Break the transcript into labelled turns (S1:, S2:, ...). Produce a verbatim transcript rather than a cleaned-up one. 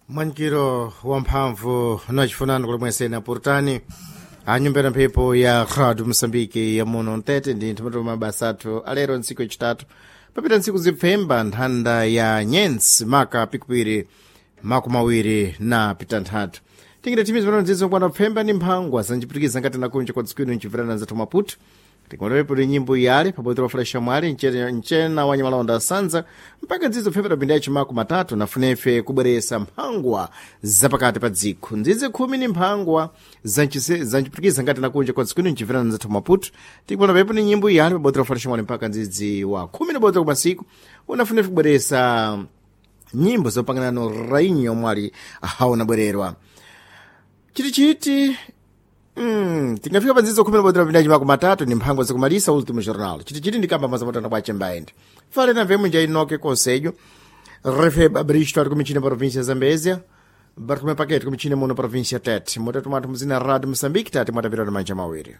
S1: Mwankiro wamphamvu nachifunani kulimwesena purutani anyumbera mphepo ya radio Moçambique ya muno mtete ndi nthamatu mabasa athu alero ntsiku yachitatu papita ntsiku zipfemba nthanda ya nyensi maka pikupiri makumi awiri na pitanthatu tingire thimi zimene nzizo kwana pfemba ndi mphangwa zanjipitikiza ngati nakunja kwa dziko ino nchimverana nzathu Maputo. Tikuonepo ndi nyimbo yale pabodzi pa flasha mwali mchena mchena wa nyamalonda asanza mpaka nzizo pfembera pinda yachimako matatu nafunefe kubweresa mphangwa zapakati pa dziko nzizi khumi ni mphangwa zanjipitikiza ngati nakunja kwa dziko ino nchimverana nzathu Maputo. Tikuona pepo ni nyimbo yale pabodzi pa flasha mwali mpaka nzizi wa khumi na bodzi kumasiku unafunefe kubweresa nyimbo zopanganano rainha omwe haona bwererwa chitichiti. Mm, tingafika pa nzizo khumi na bodzi pinda chimako matatu ni mphangwa zakumalisa Último Jornal. Chitichiti ndikamba mazamatana kwa chembaende fale na vemu nja inoke conselho refeba bristo ari kumichina província Zambézia, Bartolomé Paquete kumichina muno província Tete. Mutatu mwathu muzina Radio Moçambique tati mwatapita na manja mawiri.